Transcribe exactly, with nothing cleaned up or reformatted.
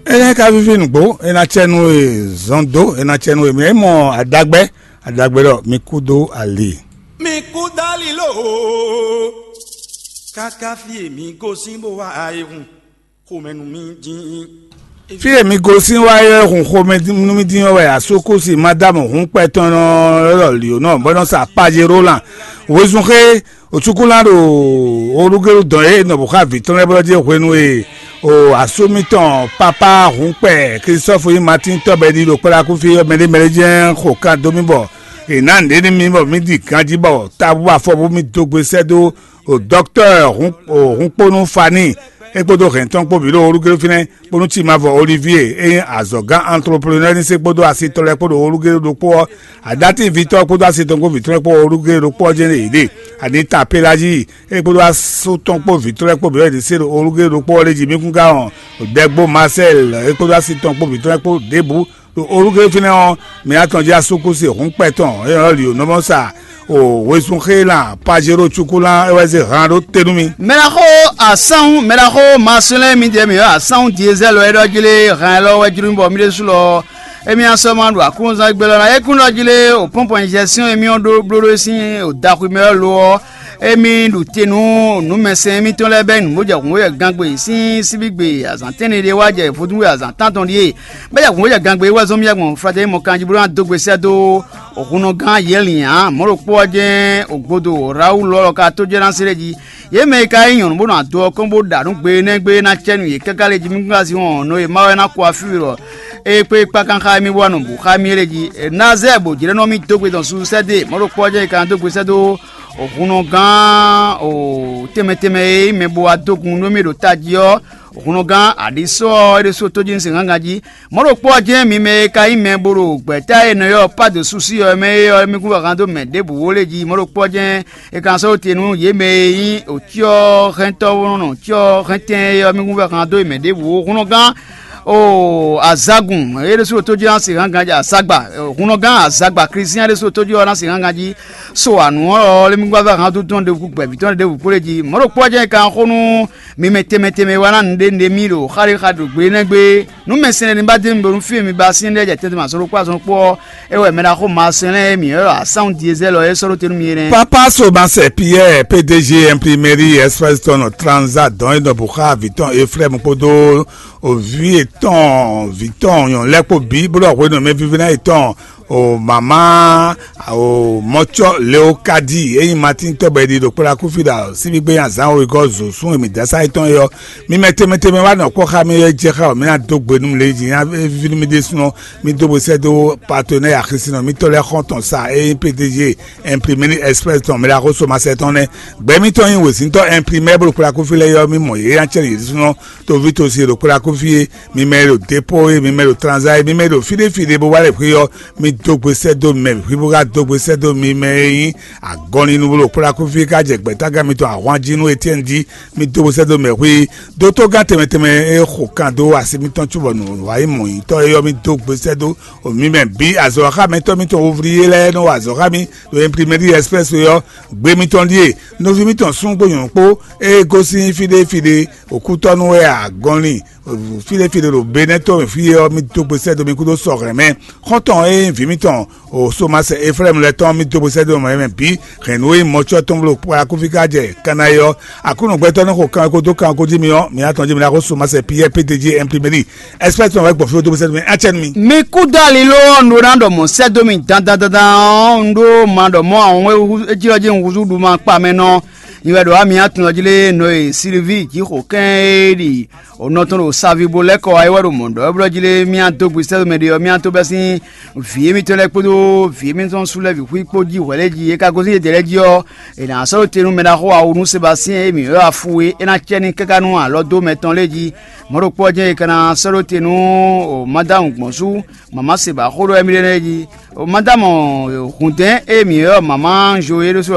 Énɛ́ ka víví nǔgbó, é ná cɛ nú e zɔn dó, é ná cɛ nú e mɛ é mɔ adagbɛ́, adagbɛ́ ɖɔ mi kú dó ali. Mi kú dó ali lóhoo, káká fí e mi gosín bó wá ayihun xomɛ nú mi dín. Fí e mi gosín wá é hun xomɛ nú mi dín ɔ́ wɛ asúkúsi Madámu hun kpɛ tɔn nɔ lɔ lǐó nɔ bɔ nɔ sa Pajero lan wezun xé. Ocukulán ɖo olúgélu dɔn e nɔ bǔ xá vǐ tɔn lɛ́ɛ bɔ jí hwenu e o asú mitɔn pápá hun kpɛ Klistɔ́fu nyí Matín tɔ́ bɔ è ɖi ɖo kplákúfí ɔ́ mɛ ɖé mɛ ɖé jɛ́n xo kan dó mì bɔ è nǎ nǔɖé nú mì bɔ mì ɖi ganjí bɔ tabu afɔbú mì dó gbe sɛ́ dó o dɔktɔ́ hunkpónú Faníi é kpódó hɛ̌n tɔn kpó bǐ ɖo olúgélu fínɛ́. Kpónú Timavɔ Olivíe e nyí azɔ̌gán antloplenɔ́ ní se kpódó asitɔ́ lɛ́ɛ kpó ɖo olúgélu ɖokpó ɔ́, adátín vǐtɔ́ kpódó asitɔ́ kpó vǐtɔ́ lɛ́ɛ kpó olúgélu ɖokpó ɔ́ jɛ́n ɖe yě ɖe. Aní Tapélazi é kpódó asú tɔn kpó vǐtɔ́ lɛ́ɛ kpó bǐ wɛ ɖě se ɖo olúgélu ɖokpó ɔ́ lɛ́ɛ jí. Mí kún ka wɔn Dɛgbó Masɛ́l é kpódó así tɔn kpó vǐtɔ́ lɛ́ɛ kpó ɖěbǔ ɖo olúgélu fínɛ́ ɔ́, mǐ atɔn jí asúkúsi hǔnkpɛ tɔn é nɔ ɖi nǔ mɔ sa o wezun xé lan Pajero cukulán é wɛ zé han ɖó te nú mì. Mɛɖaxó asánwú, mɛɖaxó Maselɛ́n, mi ɖe mǐ ɔ́ asánwú Diezɛ́l wɛ ɖɔ jí lé, han élɔ́ wɛ jló mì bɔ mì ɖésú lɔ émí ná sɔ́ ma ɖo aklúnɔzán gbé lɔ ná. É kún ɖɔ jí lé, o pɔ́npɔn injɛsyɔ́n émí ɔ́ ɖó bló ɖó sín o daxwi mɛ ɔ́ lo ɔ́, émí ɖu te nú nǔmɛsɛn émítɔn lɛ́ɛ bɛ́ nǔ bó jɛ hǔn bó jɛ gangbé sín síbígbe azǎn tɛ́nɖé ɖé wá jɛ vodúnwe azǎn tántɔn ɖíe. Bɔ é jɛ hǔn bó jɛ gangbé wɛ zɔ́n mì gbɔn Flatɛ́ni mɔ kanjí bó ná dó gbe sɛ́ dó hunnɔgán Yɛlin ǎ. Mɔ̌ ɖokpó ɔ́ jɛ́n ògbodo Rawúlu ɔ́ lɔ ka tó jɛ ná se lɛ́ jí. Yě mɛ e ka nyí nyɔ̌nu bó nɔ ado ɔ́ kɔn bó ɖa nǔ gbe énɛ́ gbe ná cɛ nú yě káká lé jí mí gbla sin wɔn nɔ e Mawu ná kó afí we ɖɔ é kpé kpákán xá émí bó wá nɔ bǔ xá mì é lé jí. Nazɛ́ɛ bǒ jlɛ́ nɔ mì dó gbe dɔn susu sɛ́ dó e. Mɔ̌ ɖokpó ɔ́ jɛ́n è ka ná dó gbe sɛ́ dó hunnɔgán tɛnmɛ tɛnmɛ e nyí mɛ bo wá dó gun nú mì ɖo tají ɔ́, hunnɔgán aɖǐsɔ ɔ́ é ɖésú tójínsɛnhángan jí. Mɔ̌ ɖokpó ɔ́ jɛ́n mi mɛ e ka nyí mɛ bo ɖo gbɛ̌ta e è nɔ ylɔ́ Pado Susí ɔ́ mɛ é ɔ́, mi kún vɛ́ han dó mɛ ɖěbǔ ó lé jí. Mɔ̌ ɖokpó ɔ́ jɛ́n è ka sɔ́ te nú yě mɛ e nyí òcyɔ́hɛntɔ́ nɔ cyɔ́hɛntɛn é ɔ́, mi kún vɛ́ han dó mɛ ɖěbǔ ó. Hunnɔgán o azagun é ɖésú ɖo tójínsɛnhángan jí azagba, hunnɔgán azagba Klísián é ɖésú ɖo tójí ɔ́ ná sɛnhángan jí. So anǔ ɔ́ lɔ lé mi gbá vɛ́ han dó tɔn ɖěbǔ gbɛ̌bí tɔn ɖěbǔ kplé jí. Mɔ̌ ɖokpó ɔ́ jɛ́n è ka xó nú mi mɛ tɛnmɛ tɛnmɛ wá ná nǔɖé nǔɖé mì ɖo xá ɖé xa ɖo gbe énɛ́ gbe. Nǔ mɛ sɛn lɛ́ɛ ní ba dé mi bónú fí e mi ba sín lɛ́ɛ jɛ tɛntin azɔn ɖokpó azɔn ɖokpó ɔ́, é wɛ mɛ ɖaxó Maselɛ́n e mǐ ylɔ́ ɖɔ asánwú Diezɛ́l ɔ́ é sɔ́ ɖó te nú mi é nɛ́. Papa Somasɛ Piyɛ́ɛ, P D G Imprimerie Express tɔn nɔ Transa dɔn é nɔ bǔ xá vǐ tɔn Eflɛ́mu kpódó vǐ yětɔn vǐ tɔn nyɔ̌nu lɛ́ɛ kpó bǐ, bó ɖɔ hwenu e mɛvívínɔ yětɔn o mama o mɔcɔ Leokadi e nyí Matín tɔ́ bɔ è ɖi ɖo kplɔ́ akúfí ɖo síbígbé nyi azǎn wegɔ́ zǒsún e mǐ dó asá yětɔn é ɔ́, mi mɛ tɛnmɛ tɛnmɛ wá nɔ kpɔ́ xá mì é jɛ xá wɛ mì ná dó gbe nú mi lě jí ná víví nú mi ɖésúnɔ. Mi dó gbe sɛ́ dó patonɛ́ axisínɔ mǐtɔn lɛ́ɛ xɔ́ntɔn sa e nyí P D G Imprimerie Express tɔn mɛ ɖaxó Somasɛ tɔn nɛ́. Gbɛ̌ mǐtɔn nyí wězíntɔ́ Imprimɛ́ bó ɖo kplɔ́ akúfí lɛ́ɛ é ɔ́, mì mɔ yě ná cɛ yě ɖésúnɔ toví tosi e ɖo kplɔ́ akúfí é, mi mɛ e ɖo dépó é, mi mɛ e ɖo tranzá é, mi mɛ e ɖo fí ɖé fí ɖé bó wá lɛ xwé ɔ́, mi dó gbe sɛ́ dó mɛ, hwi bó ka dó gbe sɛ́ dó mi mɛ e nyí agɔnlinu bó ɖo kplɔ́ akúfí ká jɛ gbɛ̌tágán mitɔn ahwan jí nú Etyɛ́ni jí, mi dó gbe sɛ́ dó mɛ hwi. Dótógán tɛnmɛ tɛnmɛ e xo kan dó asi mitɔn cóbɔ nǔwanyiyi mɔ̌nyitɔ́ é ɔ́, mi dó gbe sɛ́ dó mi mɛ bǐ. Azɔ̌xámɛtɔ́ mitɔn wovlí é lɛ́ɛ nɔ wa azɔ̌ xá mi ɖo Imprimerie Express é ɔ́, gbe mitɔn ɖíe, nɔví mitɔn súnnu kpó nyɔ̌nu kpó, ée gosín fí ɖé fí ɖé, òkútɔ́nú wɛ a gɔnlin fí ɖé fí ɖé ɖo Benɛ́ to mɛ fí é ɔ́, mi dó gbe sɛ́ dó mi kúdó sɔhɛn mɛ. Xɔ́ntɔn e nyí vǐ mitɔn o Somasɛ Eflɛ́mu lɛ́ɛ tɔn, mi dó gbe sɛ́ dó mɛ mɛ bǐ. Hɛ̌nnu e nyí mɔcɔ́ tɔn bó ɖo kpó akúfí ká jɛ Kana é ɔ́, Aklúnɔ gbɛtɔ́ nɔ xo kan ko dó kan ko jí mi ɔ́, mi atɔn jí mi ná xo Somasɛ Piyɛ́ɛ P D G Imprimerie Express tɔn wɛ gbɔn fí dó gbe sɛ́ dó mi, acɛ́ nú mi. Mi kú dó ali ló ɔ́, un ɖó ná ɖɔ mɔ̌ sɛ́ dó mi dandan dandan ɔ́, un ɖó ma ɖɔ mɔ̌ awɔn e jí ɔ́ jí un húzú ɖu ma kpa mɛ nɔ. Nyi wɛ ɖo wá mi atɔn jí lé nɔ e Silvíi jǐxo kɛ́n e ɖi o nɔ tɔn ɖo savi bo lɛ́ kɔ wá é wɛ ɖo mɔ̌ ɖɔ é blɔ́ jí lé mì adó gbe sɛ́ mɛ ɖé ɔ́, mì adó bɛ́ sín vǐ émítɔn lɛ́ɛ kpódó vǐ émítɔn sú lɛ́ɛ bǐ xwí kpó jí hwɛ̌ lɛ́ɛ jí. É ka gosín yědɛɛ lɛ́ɛ jí ɔ́, è nǎ sɔ́ ɖó te nú mɛ ɖaxó awu nú Sebastíɛn e mǐ ylɔ́ Afu é, é ná cɛ ní káká nú alɔdómɛ tɔn lɛ́ɛ jí. Mɔ̌ ɖokpó ɔ́ jɛ́n è ka ná sɔ́ ɖó te nú Madámu gbɔ̌n sú mama se ba xó ɖɔ émí ɖé lɛ́ɛ jí. Madámu Hǔndɛ́n e mǐ ylɔ́ mama Anzo é ɖésú